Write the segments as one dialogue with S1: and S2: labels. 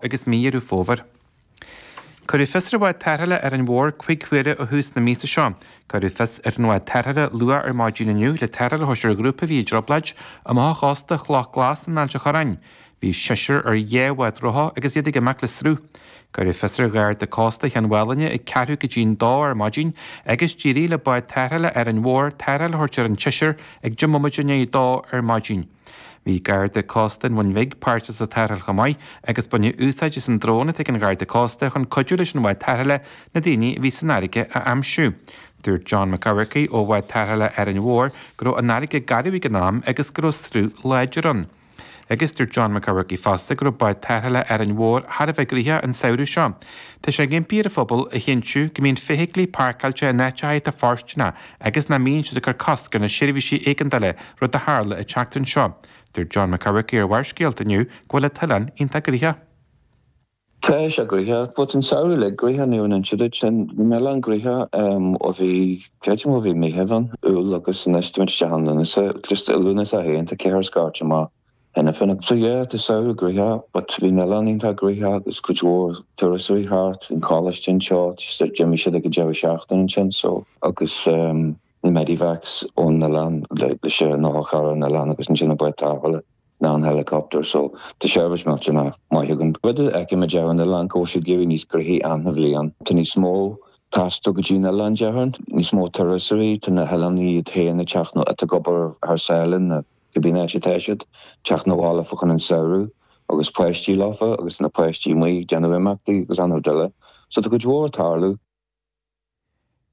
S1: Agus mí Dheireadh Fómhair. Cuireadh fios ar bhád tarrthála Árainn Mhór 5 huaire ó thús na míosa seo. Cuireadh fios ar an bhád tarrthála luath ar maidin inniu le tarrtháil a thabhairt ar ghrúpa a bhí i dtrioblóid amach ó chósta Chloch Glas in Ailt an Chorráin. Bhí seisear ar dhá bhád rotha agus iad ag imeacht le sruth. Cuireadh fios ar Gharda Cósta Cheann Mhálanna ag ceathrú go dtí'n dó ar maidin agus d'éirigh le bád tarrthála Árainn Mhór tarrtháil a thabhairt ar an tseisear ag 10 mbomaite i ndiaidh a dó ar maidin. Bhí Garda Cósta an Bhun Bhig páirteach sa tarrtháil chomh maith agus baineadh úsáid as an drón atá ag an Gharda Cósta chun cuidiú leis an bhád tarrthála na daoine a bhí san fharraige a aimsiú. Dúirt John Mac Eamharcaigh ó bhád tarrthála Árainn Mhór go raibh an fharraige garbh ag an am agus go raibh sruth láidir ann. Agus dúirt John Mac Eamharcaigh fosta go raibh bád tarrthála Árainn Mhór thar a bheith gnoitheach an samhradh seo. Tá sé ag impí ar an phobal a chinntiú go mbíonn feithiclí páirceáilte in áiteacha atá fóirsteanach agus nach mbíonn siad ag cur cosc ar na seirbhísí éigeandála, rud a tharla an tseachtain seo. Dúirt John Mac Eamharcaigh ar Bharrscéalta inniu go bhfuil an t-oileán iontach gnoitheach.
S2: Tá sé gnoitheach, but an samhradh uilig gnoitheach ní raibh an inse duit sin. Bhí an oileán gnoitheach ó bhí, creidim ó bhí Meitheamh ann, Iúil agus anois táimid isteach in Lúnasa, just i Lúnasa féin tá ceithre scairte amach cheana féin. So yeah, tá samhradh gnoitheach but bhí an oileán iontach gnoitheach agus cuid mhór turasóirí thart, bhí an coláiste anseo, just d'imigh siad ag an deireadh seachtaine ansin so agus na medivacs ón oileán leis an otharcharr ón oileán agus ansin an bád tarrthála ná an helicopter so tá seirbhís millteanach maith againn. Rud a fheicimid ar an oileán go bhfuil sé ag éirí níos gnoithí achan bhliain. Tá níos mó taisteal go dtí an oileán déarfainn, níos mó turasóirí, tá na hoileánaigh iad féin ag teacht nó atá ag obair thar sáile nó cibé áit atá siad, teacht 'na bhaile fá choinne an samhradh agus páistí leofa agus na páistí amuigh ag déanamh imeachtaí agus an-chuid eile. So tá cuid mhór ag tarlú.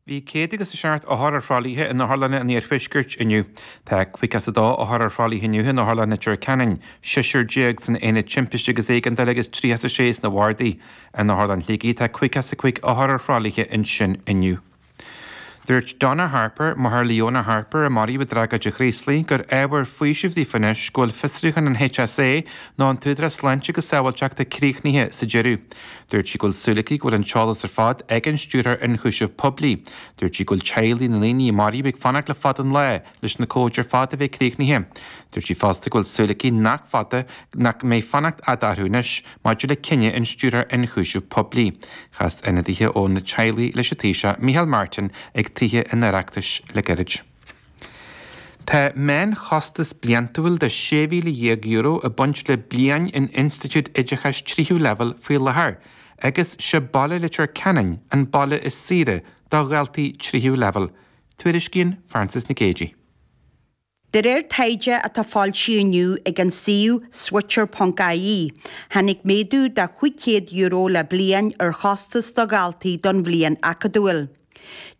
S1: Bhí 107 othar ar thralaithe in otharlanna an iarthuaiscirt inniu. Tá 52 othar ar thralaithe inniu in Otharlann Leitir Ceanainn, 16 san Aonad Timpiste agus Éigeandála agus 36 sna bardaí. In Otharlann Shligigh tá 55 othar ar thralaithe ansin inniu. Dúirt Donna Harper, máthair Leona Harper a maraíodh i dtragóid an Chraoslaigh, gur ábhar faoisimh daofa anois go bhfuil fiosrúchán an HSA, nó an tÚdarás Sláinte agus Sábháilteachta, críochnaithe sa deireadh. Dúirt sí go bhfuil súil aici go bhfuil an t-eolas ar fad ag an Stiúrthóir Ionchúiseamh Poiblí. Dúirt sí go bhfuil teaghlaigh na ndaoine a maraíodh ag fanacht le fada an lá leis na comhaid ar fad a bheith críochnaithe. Dúirt sí fosta go bhfuil súil aici nach fada nach mbeidh fanacht fhada orthu anois maidir le cinneadh an Stiúrthóir Ionchúiseamh Poiblí. Chas ionadaithe ó na teaghlaigh leis an Taoiseach Micheál Martin ag Tithe an Oireachtais le gairid. Tá meánchostas bliantúil de €16,000 ag baint le bliain in institiúid oideachais tríú leibhéal faoi láthair agus sé baile Leitir Ceanainn an baile is saoire do dhaltaí tríú leibhéal, tuairiscíonn Frances Nic Géadaigh.
S3: De réir taighde atá foilsithe inniu ag an suíomh Switcher.ie, tháinig méadú de €500 le bliain ar chostas do dhaltaí don bhliain acadúil.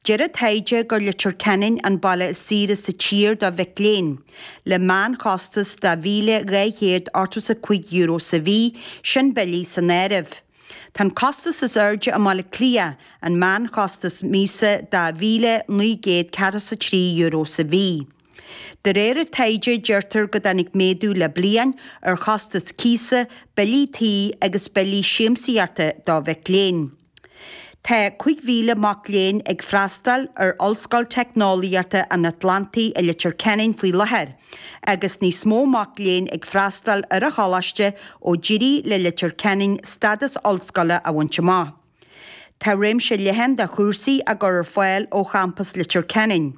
S3: Deir an taighde gur Leitir Ceanainn an baile is saoire sa tír do mhic léinn, le meánchostas de €1,285 sa mhí, sin billí san áireamh. Tá an costas is airde i mBaile Átha Cliath, an meánchostas míosa de €1,943 sa mhí. De réir an taighde, deirtear go dtáinig méadú le bliain ar chostas cíosa, billí tí agus billí siamsaíochta do mhic léinn. Tá 5,000 mac léinn ag freastal ar Ollscoil Teicneolaíochta an Atlantaigh i Leitir Ceanainn faoi láthair agus níos mó mac léinn ag freastal ar an choláiste ó d'éirigh le Leitir Ceanainn stádas ollscoile a bhaint amach. Tá réimse leathan de chúrsaí á gcur ar fáil ó champas Leitir Ceanainn,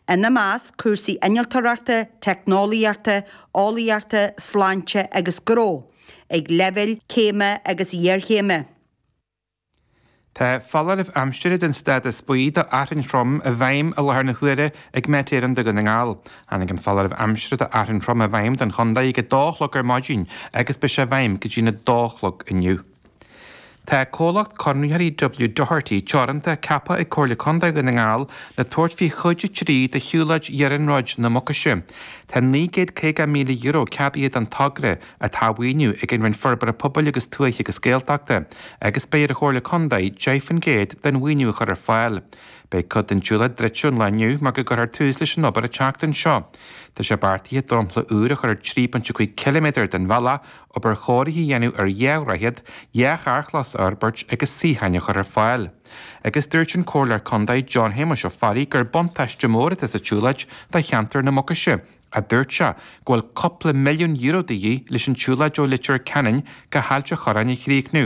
S3: ina measc cúrsaí innealtóireachta, teicneolaíochta, eolaíochta, sláinte agus gnó ag leibhéil céime agus iarchéime.
S1: Tá foláireamh aimsire den stádas buí do fhearthainn throm i bhfeidhm i láthair na huaire ag Met Éireann do Dhún na nGall. Tháinig an foláireamh aimsire do fhearthainn throm i bhfeidhm don chontae ag 2 a chlog ar maidin agus beidh sé i bhfeidhm go dtí'n 2 a chlog inniu. Tá comhlacht conraitheoirí W Doherty Teoranta ceaptha ag Comhairle Contae Dhún na nGall le tabhairt faoi chuid 3 de shiúlóid Iarnróid na Mucaise. Tá €950,000 ceadaithe don togra, atá á mhaoiniú ag an Roinn Forbartha Pobail agus Tuaithe agus Gaeltachta, agus beidh ar an Chomhairle Contae 10% den mhaoiniú a chur ar fáil. Beidh cuid den tsiúlóid druidte ón lá inniu mar go gcuirfear tús leis an obair an tseachtain seo. Tá sé beartaithe dromchla úr a chur ar 3.5 ciliméadar den bhealach, obair chóirithe a dhéanamh ar dhá dhroichead, dhá charrchlós a fhorbairt agus suíocháin a chur ar fáil. Agus dúirt an Comhairleoir Contae John Shéamuis Ó Fearraigh gur buntáiste mór atá sa tsiúlóid do cheantar na Mucaise. Ach dúirt sé go bhfuil cúpla €1 milliún de dhíth leis an tsiúlóid ó Leitir Ceanainn go hAilt an Chorráin a chríochnú.